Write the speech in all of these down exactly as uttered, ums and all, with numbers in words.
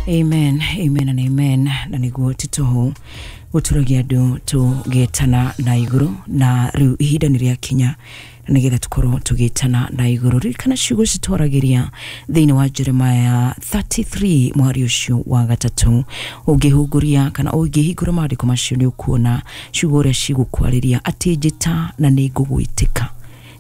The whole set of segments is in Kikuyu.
Amen, amen and amen. Na nĩguo titoho gũtũragia andũ tũgĩtana na igũrũ, na rĩu ihinda nĩ rĩakinya na nĩgetha tũkorwo tũgĩtana na igũrũ. Ririkana ciugo citwaragĩria thĩinĩ wa Jeremiah thirty-three mweri ũcio wa gatatũ. Ũngĩhungũria kana ũngĩhingũra maandĩko macio nĩ ũkuona ciugo ũrĩa cigũkwarĩria atĩ njĩta na nĩ ngũgwĩtĩka,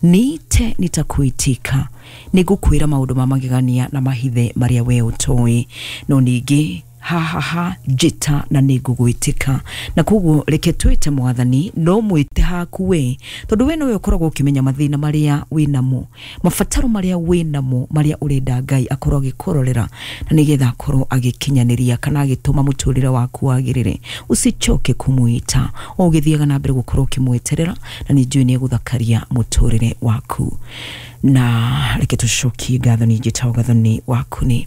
niite nitakuitika, nĩngũkwĩra maũndũ ma magegania na mahithe marĩa we ũtoĩ. No ningĩ ha ha ha, njĩta na nĩngũgwĩtĩka. Na koguo reke twĩte mwathani, no mwĩte haku we, tondũ we nowe ũkoragwo ũkĩmenya mathĩna marĩa wĩnamo, mabataro marĩa wĩnamo, marĩa ũrenda Ngai akorwo agĩkũrorera na nĩgetha akorwo agĩkinyanĩria kana agĩtũma mũtũrĩre waku wagĩrĩre. Usichoke kũmwĩta, o ũgĩthiaga na mbere gũkorwo ũkĩmweterera, na nĩ njũĩ nĩegũthakaria mũtũrĩre waku. Na reke tũcokie ngatho ningĩ ta ngatho nĩ waku nĩ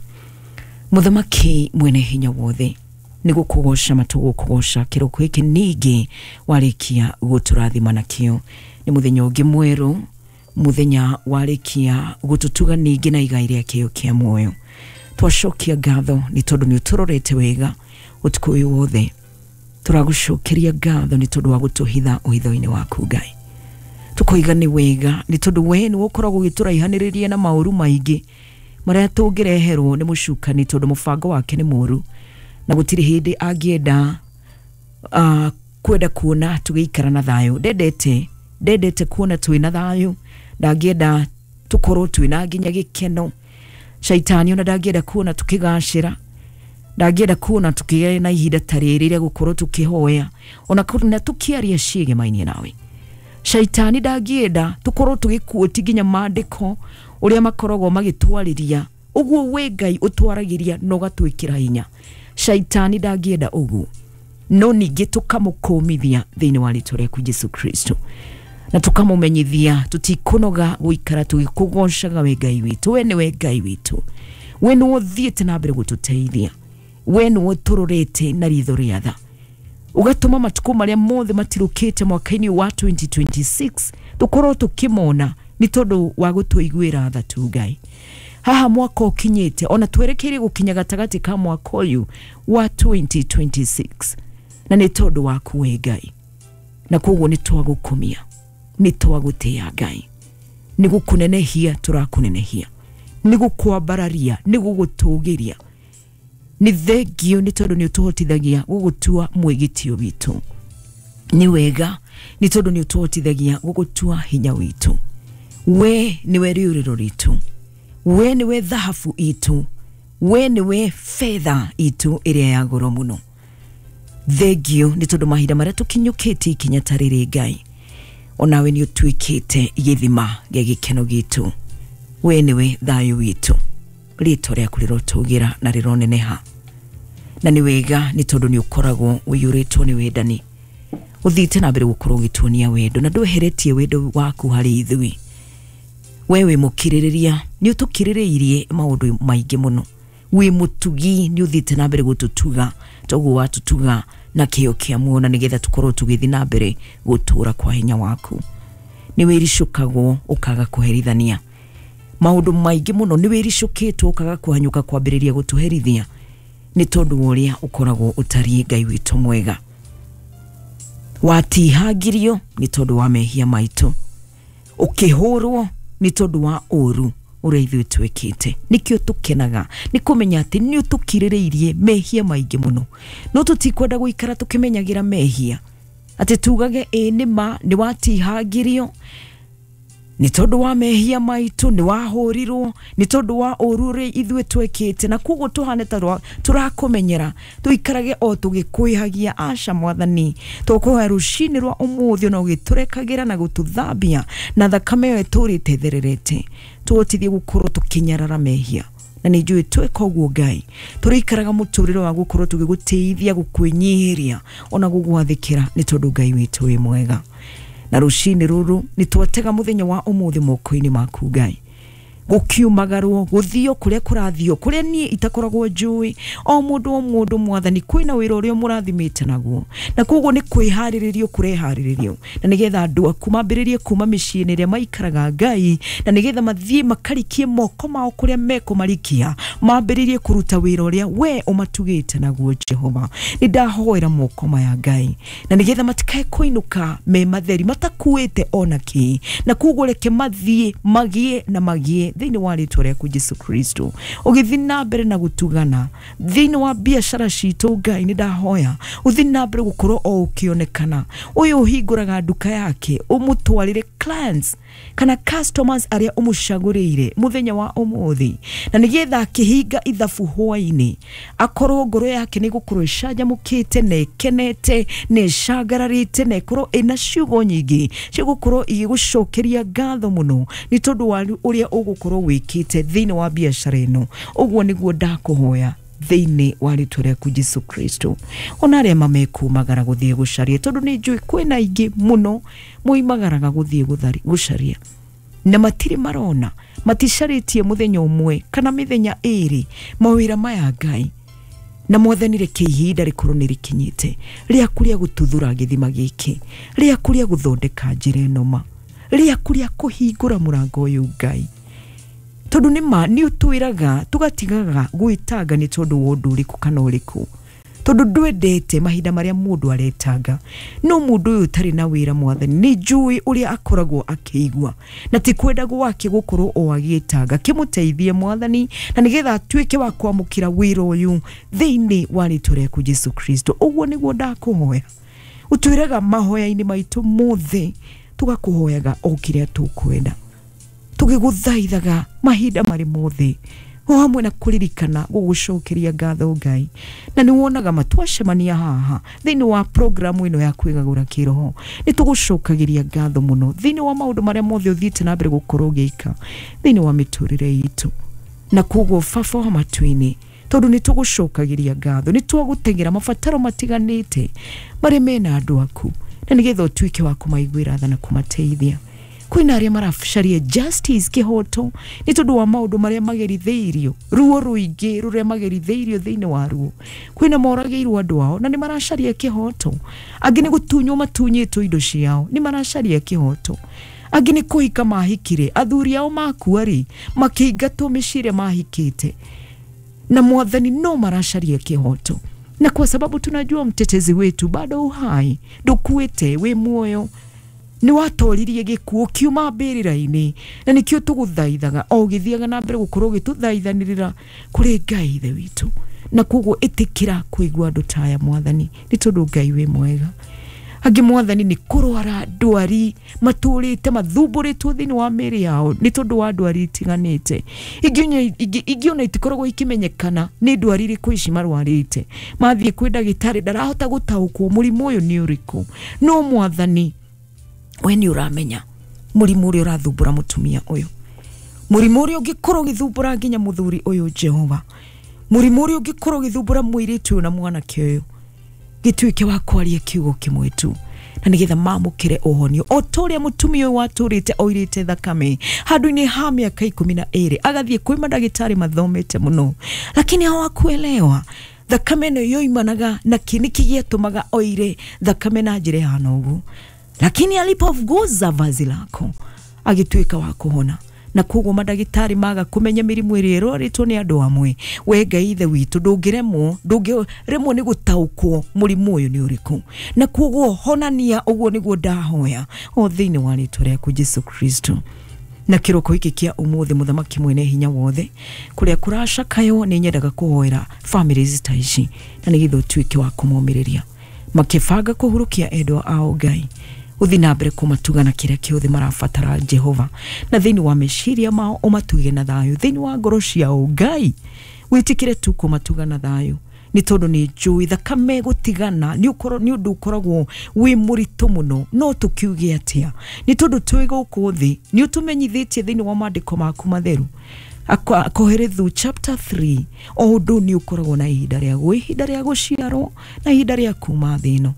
Mũthamaki mwene hinya wothe, nĩ gũkũgoca matũgũkũgoca kĩroko gĩkĩ ningĩ warĩkia gũtũrathima nakĩo. Nĩ mũthenya ũngĩ mwerũ, mũthenya warĩkia gũtũtuga ningĩ na igai rĩa kĩo kĩa muoyo. Twacokia ngatho nĩ tondũ nĩ ũtũrorete wega ũtukũ ũyũ wothe. Tũragũcokeria ngatho nĩ tondũ wa gũtũhitha ũhitho-inĩ waku Ngai. Tũkoiga nĩ wega nĩ tondũ we nĩwe ũkoragwo ũgĩtũraihanĩrĩria na maũru maingĩ marĩa tũngĩreherwo nĩ mũcukani, tondũ mũbango wake nĩ mũru na gũtirĩ hĩndĩ angĩenda uh, kwenda kuona tũgĩikara na thayũ. Ndendete ndendete kuona twĩna thayũ, ndangĩenda tũkorwo twĩna nginya gĩkeno. Shaitani ona ndangĩenda kuona tũkĩgacĩra, ndangĩenda kuona tũkĩgĩa na ihinda ta rĩrĩ rĩa gũkorwo tũkĩhoya ona na tũkĩaria ciĩgemainie nawe. Shaitani ndangĩenda tũkorwo tũgĩkuoti nginya maandĩko ũrĩa makoragwo magĩtwarĩria ũguo we Ngai ũtwaragĩria na ũgatwĩkĩra hinya. Shaitani ndangĩenda ũguo, no ningĩ tũkamũkũmithia thĩinĩ wa rĩtwa rĩaku Jesu Kristo, na tũkamũmenyithia tũtikũnoga gũikara tũgĩkũgocaga we Ngai witũ. We nĩwe Ngai witũ, we nĩwe ũthiĩte na mbere gũtũteithia, we nĩwe ũtũrorete na ritho rĩa tha, ũgatũma matukũ marĩa mothe matirũkĩte mwaka-inĩ wa twenty twenty-six tũkorwo tũkĩmona nĩ tondũ wa gũtũiguĩra tha tu Ngai. Haha mwaka ũkinyĩte ona twerekeire gũkinya gatagatĩ ka mwaka ũyũ wa twenty twenty-six, na nĩ tondũ waku we Ngai, na koguo nĩ twagũkumia, nĩ twagũtĩĩa Ngai, nĩ gũkũnenehia tũrakũnenehia, nĩ gũkwambararia, nĩ gũgũtũgĩria. Nĩ thengio nĩ tondũ nĩ ũtũhotithagia gũgũtua mwĩgitio witũ. Nĩ wega nĩ tondũ nĩ ũtũhotithagia gũgũtua hinya witũ. We nĩwe rĩũrĩro ritũ, we nĩwe thahabu itũ, we nĩwe fedha itũ ĩrĩa ya goro mũno. Thengio nĩ tondũ mahinda marĩa tũkinyũkĩtie ikinya ta rĩrĩ Ngai, onawe nĩ ũtuĩkĩte gĩthima gĩa gĩkeno gitũ. We nĩwe thayũ witũ, rĩtwa rĩaku rĩrotũgĩra na rĩroneneha. Na nĩ wega nĩ tondũ nĩ ũkoragwo ũiyũrĩtwo nĩ wendani, ũthiĩte na mbere gũkorwo ũgĩtuonia wendo na ndweheretie wendo waku harĩ ithuĩ. We wĩ mũkirĩrĩria, nĩ ũtũkirĩrĩirie maũndũ maingĩ mũno. Wĩ mũtugi, nĩ ũthiĩte na mbere gũtũtuga toguo watũtuga na kĩo kĩa muoyo, na nĩgetha tũkorwo tũgĩthiĩ na mbere gũtũra kwa hinya waku. Nĩ wĩricũkagwo ũkaga kũherithania maũndũ maingĩ mũno, nĩ wĩricũkĩtwo ũkaga kũhanyũka kwambĩrĩria gũtũherithia nĩ tondũ wa ũrĩa ũkoragwo ũtariĩ Ngai witũ mwega. Watihangirio nĩ tondũ wa mehia maitũ, ũkĩhũrwo nĩ tondũ wa ũru ũrĩa ithuĩ twĩkĩte. Nĩkĩo tũkenaga nĩ kũmenya atĩ nĩ ũtũkirĩrĩirie mehia maingĩ mũno, no tũtikwenda gũikara tũkĩmenyagĩra mehia atĩ tugage ĩ nĩ ma nĩ watihangirio nĩ tondũ wa mehia maitũ, nĩ wahũrirwo nĩ tondũ wa ũru ũrĩa ithuĩ twĩkĩte, na koguo tũhane ta tũrakũmenyera tũikarage o tũgĩkwĩhagia. Aca mwathani, tũkũhoya rũcinĩ rwa ũmũthĩ ona ũgĩtũrekagĩra na gũtũthambia na thakame ĩyo ĩtũrĩte ĩthererete, tũhotithie gũkorwo tũkĩnyarara mehia. Na nĩ njũĩ tweka ũguo Ngai, tũrĩikaraga mũtũrĩre wa gũkorwo tũgĩgũtĩithia, gũkwĩnyihĩria ona gũgwathĩkĩra, nĩ tondũ Ngai witũ wĩ mwega. Na rũcinĩ rũrũ nĩ twatega mũthenya wa ũmũthĩ moko-inĩ maku Ngai. Gũkiumagarwo gũthio kũrĩa kũrathio kũrĩa niĩ itakoragwo njũĩ o mũndũ o mũndũ mwathani kwĩna wĩra ũrĩa mũrathimĩte naguo na koguo nĩ kwĩharĩrĩrio kũreharĩrĩrio na nĩgetha andũ aku mambĩrĩrie kuma mĩciĩ-inĩ ĩrĩa maikaraga Ngai na nĩgetha mathiĩ makarikie moko mao kũrĩa mekũmarikia mambĩrĩrie kũruta wĩra ũrĩa we ũmatugĩte naguo Jehova. Nĩ ndahoera moko maya Ngai na nĩgetha matikae kũinũka me matheri matakuĩte ona kĩ na koguo reke mathiĩ magĩe na magĩe thĩinĩ wa rĩtwa rĩaku Jesu Kristo. Ũgĩthiĩ na mbere na gũtugana thĩinĩ wa biacara citũ Ngai nĩ ndahoya ũthiĩ na mbere gũkorwo o ũkĩonekana. Ũyũ ũhingũraga nduka yake ũmũtwarĩre clients kana customers arĩa ũmũcagũrĩire mũthenya wa ũmũthĩ na nĩgetha akĩhinga ithabu hwaĩ-inĩ akorwo ngoro yake nĩ gũkorwo ĩcanjamũkĩte na ĩkenete na ĩcangararĩte na ĩkorwo ĩna ciugo nyingĩ cia gũkorwo igĩgũcokeria ngatho mũno nĩ tondũ wa ũrĩa ũgũkorwo wĩkĩte thĩinĩ wa biacara ĩno. Ũguo nĩguo ndakũhoya thĩinĩ wa rĩtwa rĩaku Jesu Kristo. Ona arĩa mamekumagara gũthiĩ gũcaria tondũ nĩ njũĩ kwĩna aingĩ mũno moimagaraga gũthiĩ gũcaria na matirĩ marona maticarĩtie mũthenya ũmwe kana mĩthenya ĩrĩ mawĩra maya Ngai na mwathani reke ihinda rĩkorwo nĩ rĩkinyĩte rĩaku rĩa gũtuthũra gĩthima gĩkĩ rĩaku rĩa gũthondeka njĩra ĩno ma rĩaku rĩa kũhingũra mũrango ũyũ Ngai tondũ nĩ ma nĩ ũtwĩraga tũgatigaga gwĩtanga nĩ tondũ wa ũndũ ũrĩkũ kana ũrĩkũ tondũ ndwendete mahinda marĩa mũndũ aretanga no mũndũ ũyũ ũtarĩ na wĩra mwathani nĩ njũĩ ũrĩa akoragwo akĩigua na ti kwenda gwake gũkorwo o agĩtanga. Kĩmũteithie mwathani na nĩgetha atuĩke wa kwamũkĩra wĩra ũyũ thĩinĩ wa rĩtwa rĩaku Jesu Kristo. Ũguo nĩguo ndakũhoya. Ũtwĩraga mahoya-inĩ maitũ mothe tũgakũhoyaga o kĩrĩa tũkwenda tũgĩgũthaithaga mahinda marĩ mothe o hamwe na kũririkana gũgũcokeria ngatho Ngai na nĩ wonaga matwacemania haha thĩinĩ wa programu ĩno ya kwĩgagũra kĩroho nĩ tũgũcokagĩria ngatho mũno thĩinĩ wa maũndũ marĩa mothe ũthiĩte na mbere gũkorwo ũgĩka thĩinĩ wa mĩtũrĩre itũ na koguo Baba wa matu-inĩ tondũ nĩ tũgũcokagĩria ngatho nĩ twagũteng'era mabataro matiganĩte marĩa mena andũ aku na nĩgetha ũtuĩke wa kũmaiguĩra tha na kũmateithia. Kwĩna arĩa maracaria justice kĩhoto nĩ tondũ wa maũndũ marĩa magerithĩirio ruo rũingĩ rũrĩa magerithĩirio thĩinĩ wa ruo. Kwĩna moragĩirwo andũ ao na nĩ maracaria kĩhoto angĩ nĩ gũtunywo matunyĩtwo indo ciao nĩ maracaria kĩhoto angĩ nĩ kũhika mahikire athuri ao makua rĩ makĩingatwo mĩciĩ ĩrĩa mahikĩte na mwathani no maracaria kĩhoto na kwa sababu tunajua mtetezi wetu bado uhai ndukuĩte wĩ muoyo nĩ watoririe gĩkuũ kiuma mbĩrĩra-inĩ na nĩkĩo tũgũthaithaga o ũgĩthiaga na mbere gũkorwo ũgĩtũthaithanĩrĩra kũrĩ Ngai Ithe witũ na koguo ĩtĩkĩra kũigua andũ ta aya mwathani nĩ tondũ Ngai wĩ mwega. Angĩ mwathani nĩ kũrwara ndwari matũrĩte mathumbũrĩtwo thĩinĩ wa mĩĩrĩ yao nĩ tondũ wa ndwari itiganĩte ingĩ ona itikoragwo ikĩmenyekana nĩ ndwari irĩkũ ici marwarĩte mathiĩ kwĩ ndagĩtarĩ ndarahota gũtaũkwo mũrimũ ũyũ nĩ ũrĩkũ no mwathani we nĩ ũramenya mũrimũ ũrĩa ũrathumbũra mũtumia ũyũ mũrimũ ũrĩa ũngĩkorwo ũgĩthumbũra nginya mũthuri ũyũ Jehova mũrimũ ũrĩa ũngĩkorwo ũgĩthumbũra mũirĩtu ũyũ na mwanake ũyũ gĩtuĩke wa kwaria kiugo kĩmwe tu na nĩgetha mamũkĩre ũhonio o ta ũrĩa mũtumia ũyũ watũrĩte oirĩte thakame handũ-inĩ ha mĩaka ikũmi na ĩrĩ agathiĩ kwĩ mandagĩtarĩ mathomete mũno lakini hawakuelewa thakame ĩno yoimanaga na kĩ nĩkĩ gĩatũmaga oire thakame na njĩra ĩhana ũguo lakini alipoguza vazi lako agĩtuĩka wa kũhona na koguo mandagĩtarĩ maga kũmenya mĩrimũ ĩrĩa ĩrwarĩtwo nĩ andũ amwe we Ngai Ithe witũ ndũngĩremwo ndũngĩremwo nĩ gũtaũkwo mũrimũ ũyũ nĩ ũrĩkũ na koguo honania ũguo nĩguo ndahoya o thĩinĩ wa rĩtwa rĩaku Jesu Kristo. Na kĩroko gĩkĩ kĩa ũmũthĩ mũthamaki mwene hinya wothe kũrĩa kũracakayo nĩ nyendaga kũhoera families ta ici na nĩgetha ũtuĩke wa kũmomĩrĩria makĩbanga kũhurũkia endwa ao Ngai uthi na mbere kũmatuga na kĩrĩa kĩothe marabatara Jehova na thĩinĩ wa meciria mao ũmatuge na thayũ thĩinĩ wa ngoro ciao Ngai wĩtĩkĩre tu kũmatuga na thayũ nĩ tondũ nĩ njũĩ thakame gũtigana nĩ ũkorwo nĩ ũndũ ũkoragwo wĩ mũritũ mũno no tũkiuge atĩa nĩ tondũ twĩ gũkũ thĩ nĩ ũtũmenyithĩtie thĩinĩ wa maandĩko maku matheru Koherethu chapter three o ũndũ nĩ ũkoragwo na ihinda rĩaguo ihinda rĩa gũciarwo na ihinda rĩa kuma thĩ ĩno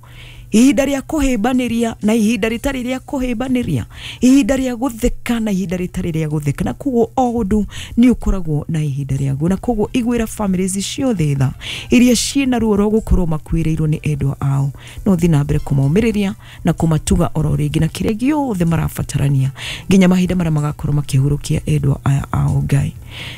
Ihinda rĩa kũhĩmbanĩria na ihinda rĩtarĩ rĩa kũhĩmbanĩria, ihinda rĩa gũtheka na ihinda rĩtarĩ rĩa gũtheka. Na koguo o ũndũ nĩ ũkoragwo na ihinda rĩaguo. Na koguo iguĩra families ciothe tha iria ciĩna ruo rwa gũkorwo makuĩrĩirwo nĩ endwa ao, no thiĩ na mbere kũmomĩrĩria na kũmatuga oro rĩngĩ na kĩrĩa gĩothe marabatarania nginya mahinda marĩa magakorwo makĩhurũkia endwa aya ao Ngai.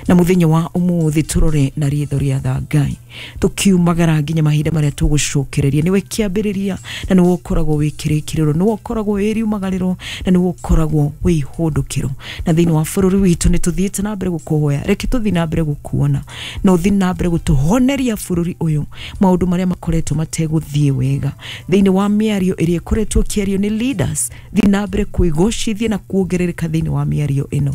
Na muthenya wa umuthi turore na ritho rĩa tha Ngai, tukiumagara nginya mahinda marĩa tũgũcokereria. Nĩwe kĩambĩrĩria na nĩwe ũkoragwo wĩ kĩrĩkĩrĩro, nĩwe ũkoragwo wĩ riumagarĩro na nĩwe ũkoragwo wĩ ihũndũkĩro. Na thĩinĩ wa bũrũri witũ nĩ tũthiĩte na mbere gũkũhoya, reke tũthiĩ na mbere gũkuona na ũthiĩ na mbere gũtũhoneria bũrũri ũyũ maũndũ marĩa makoretwo mategũthiĩ wega. Thĩinĩ wa mĩario ĩrĩa ĩkoretwo ĩkĩario nĩ leaders, thiĩ na mbere kwĩgocithia na kuongerereka thĩinĩ wa mĩario ĩno.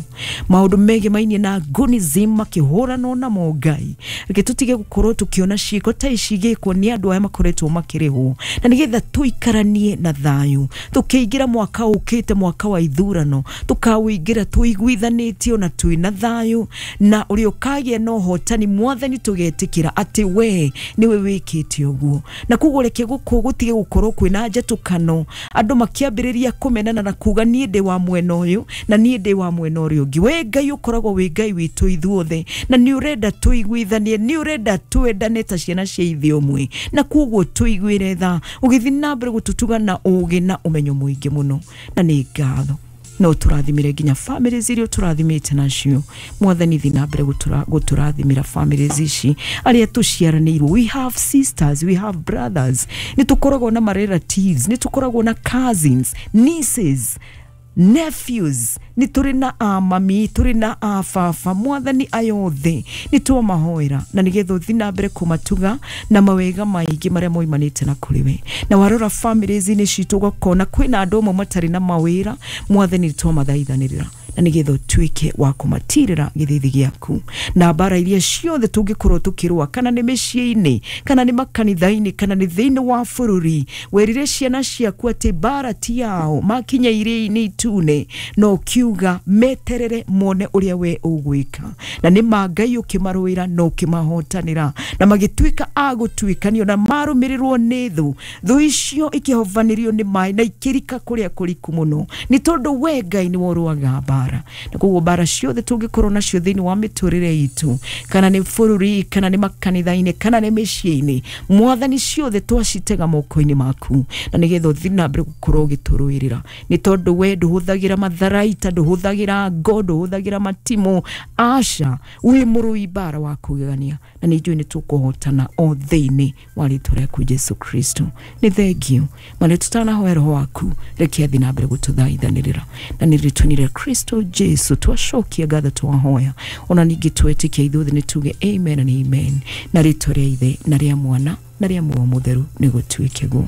Maũndũ megemainie na gunism makĩhũranwo namo Ngai, reke tũtige gũkorwo tũkĩona ciĩko ta ici igĩkwo nĩ andũ aya makoretwo makĩrĩhwo, na nĩgetha tũikaranie na thayũ tũkĩingĩra mwaka ũkĩte, mwaka wa ithurano, tũkawĩingĩra tũiguithanĩtio na twĩna thayũ, na ũrĩa ũkagĩa na ũhotani Mwathani tũgetĩkĩra atĩ we nĩwe wĩkĩte ũguo. Na koguo reke gũkũ gũtige gũkorwo kwĩna njatũkano, andũ makĩambĩrĩria kũmenana na kuga niĩ ndĩ wa mwena ũyũ na niĩ ndĩ wa mwena ũrĩa ũngĩ. We Ngai ũkoragwo wĩ Ngai witũ ithuothe, na nĩ ũrenda tũiguithanie, nĩ ũrenda twendane ta ciana cia ithe ũmwe, na koguo tũiguĩre tha ũgĩthiĩ na mbere gũtũtuga na ũgĩ na ũmenyo mũingĩ mũno. Na nĩ ngatho no tũrathimire nginya families iria tũrathimĩte nacio. Mwathani thiĩ na mbere gũtũrathimĩra families ici arĩa tũciaranĩirwo. We have sisters, we have brothers, nĩ tũkoragwo na relatives, nĩ tũkoragwo na cousins, nieces, nephews, nĩ tũrĩ na amami, tũrĩ na ababa. Mwathani ayothe nĩ twamahoera na nĩgetha ũthiĩ na mbere kũmatuga na mawega maingĩ marĩa moimanĩte na kũrĩ we. Na warora families-inĩ citũ ũgakona kwĩna andũ amwe matarĩ na mawĩra, Mwathani nĩ twamathaithanĩrĩra na nĩgetha ũtuĩke wa kũmatirĩra gĩthithi gĩaku. Na mbara iria ciothe tũngĩkorwo tũkĩrũa, kana nĩ mĩciĩ-inĩ, kana nĩ makanitha-inĩ, kana nĩ thĩinĩ wa bũrũri, werire ciana ciaku atĩ mbara ti yao, makinya iria-inĩ itune, na ũkiuga meterere mone ũrĩa we ũgwĩka. Na nĩ ma Ngai ũkĩmarũĩra na ũkĩmahotanĩra, na magĩtuĩka a gũtuĩkanio na marũmĩrĩrwo nĩ thũ. Thũ icio ikĩhovanĩrio nĩ maĩ na ikĩrika kũrĩa kũriku mũno, nĩ tondũ we Ngai nĩwe ũrũaga mbara. Na koguo mbara ciothe tũngĩkorwo nacio thĩinĩ wa mĩtũrĩre itũ, kana nĩ bũrũri, kana nĩ makanitha-inĩ, kana nĩ mĩciĩ-inĩ, Mwathani ciothe twacitega moko-inĩ maku, na nĩgetha ũthiĩ na mbere gũkorwo ũgĩtũrũĩrĩra, nĩ tondũ we ndũhũthagĩra matharaita, ndũhũthagĩra ngo, ndũhũthagĩra matimũ, aca, wĩ mũrũi mbara wa kũgegania, na nĩ njũĩ nĩ tũkũhotana o thĩinĩ wa rĩtwa rĩaku Jesu Kristo. Nĩ thengio marĩa tũtanahoya roho waku, reke athiĩ na mbere gũtũthaithanĩrĩra, na nĩ rĩtwa-inĩ rĩa Kristo Jesu twacokia ngatho twahoya, ona ningĩ twetĩkia ithuothe nĩ tuge amen and amen. Na rĩtwa rĩa Ithe na rĩa Mwana na rĩa Muoyo Mũtheru nĩ gũtuĩke guo.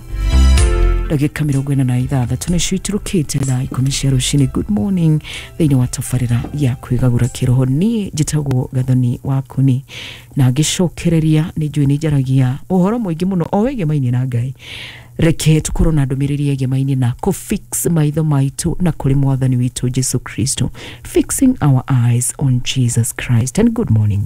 Ndagĩka mĩrongo ĩna na ithathatũ nĩcio iturũkĩte thaa ikũmi cia rũcinĩ. Good morning thĩinĩ wa tabarĩra ya kwĩgagũra kĩroho. Niĩ njĩtagwo Gathoni Wakuni, na ngĩcokereria nĩ njũĩ nĩ njaragia ũhoro mũingĩ mũno o wĩgemainie na Ngai. Reke tukorwo na ndũmĩrĩri yegemainie na kũfix maitho maitũ na kũrĩ Mwathani witũ Jesu Kristo, fixing our eyes on Jesus Christ. And good morning.